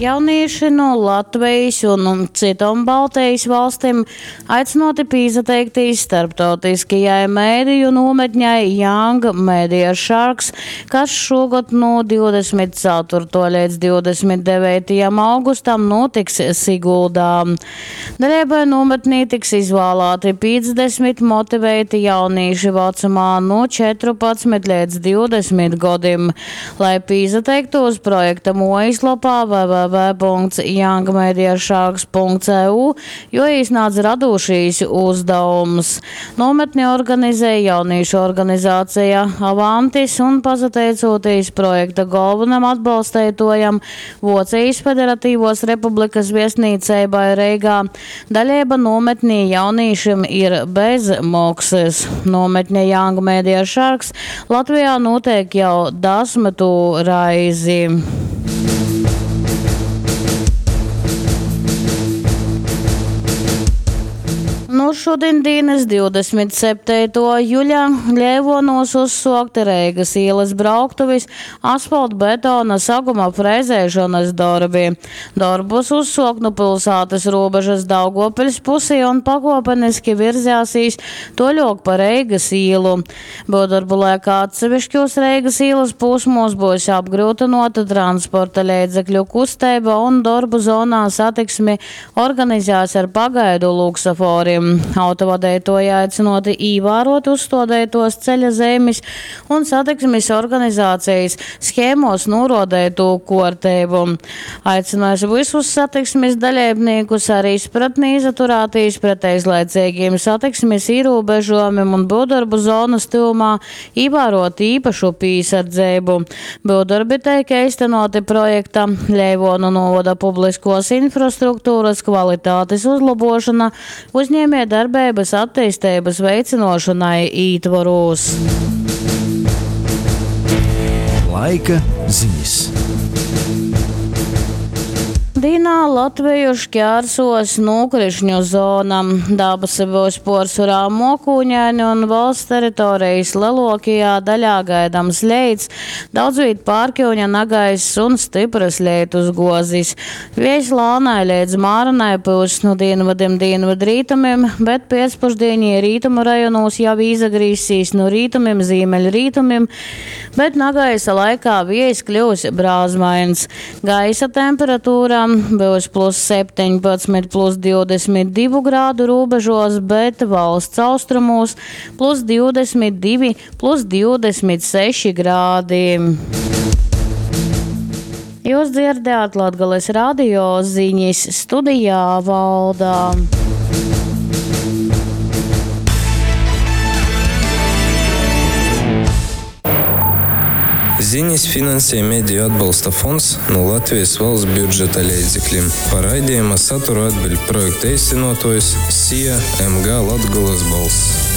Jaunīši nu Latvejis un cytom Baltejis valstim aicynuoti pīsateiktīs starptautiskajai mediju nūmetņai Young Media Sharks, kas šūgod nu 24. leidz 29. augustam nūtiks Siguldā. Daleibai nūmetnī tiks izvālāti 50 motiveiti jaunīši vacumā nu 14 leidz 20 godim. Lai pīsateiktūs projekta muojislopā www.youngmediasharks.eu juoīsnādz radūšīs uzdavums. Nūmetni organizej jaunīšu organizācija Avantis un pasateicūtīs projekta golvonam atbalsteituojam Vuocejis Federatīvuos Republikys viestnīceibai Reigā, daleiba nūmetnī jaunīšim ir bez moksys. Nūmetne Young Media Sharks Latvejā nūteik jau dasmytū reizi. Nu šudiņdīnys 27. juļa Leivuonūs uzsuokti Reigys īlys brauktuvis asfaltbetona saguma frezeišonys dorbi. Dorbus uzsuok nu pylsātys rūbežys Daugovpiļs pusī un pakuopeniski virzēsīs tuoļuok pa Reigys īlu. Byuvdorbu laikā atsevišķūs Reigys īlys pūsmūs byus apgryutynuota transporta leidzekļu kusteiba un dorbu zonā satiksmi organizēs ar pagaidu luksaforim. Autovadeituoji aicynuoti īvāruot uzstuodeituos ceļa zeimis un satiksmis organizācejis shēmuos nūruodeitū kuorteibu. Aicynuos vysus satiksmis daleibnīkus ar izpratni izaturātīs pret eizlaiceigīm satiksmis īrūbežuojumim un byuvdorbu zonys tyvumā īvāruot īpašu pīsardzeibu. Byuvdorbi teik eistynuoti projekta Leivuonu nūvoda publiskuos infrastrukturys kvalitatis uzlobuošona uzņiemiejdarbeibys atteisteibys veicynuošonai ītvorūs. Laika zinis. Dīnā Latveju šķērsos nūkrišņu zona. Dabasi byus puorsvorā muokūņaini un valsts teritorejis leluokajā daļā gaidams leits, daudzvīt pārkiuņa nagaiss un styprys leitusguozis. Viejs lānai leidz māranai pyuss nu dīnvydim dīnvydrītumim, bet piecpušdīņī rītumu rajonūs jau īsagrīzsīs nu rītumim zīmeļrītumim, bet nagaisa laikā viejs kļyus brāzmains. Gaisa temperatūra byus plus 17, plus 22 grādu rūbežuos, bet valsts austrumūs plus 22, plus 26 grādi. Jūs dzirdējāt Latgales radio ziņas studijā Valda. Ziņas finansē Mediju atbalsta fonds no Latvijas valsts budžeta leidzekļiem. Par raidījuma saturu atbild projekta īstenotojs SIA MG Latgolas balss.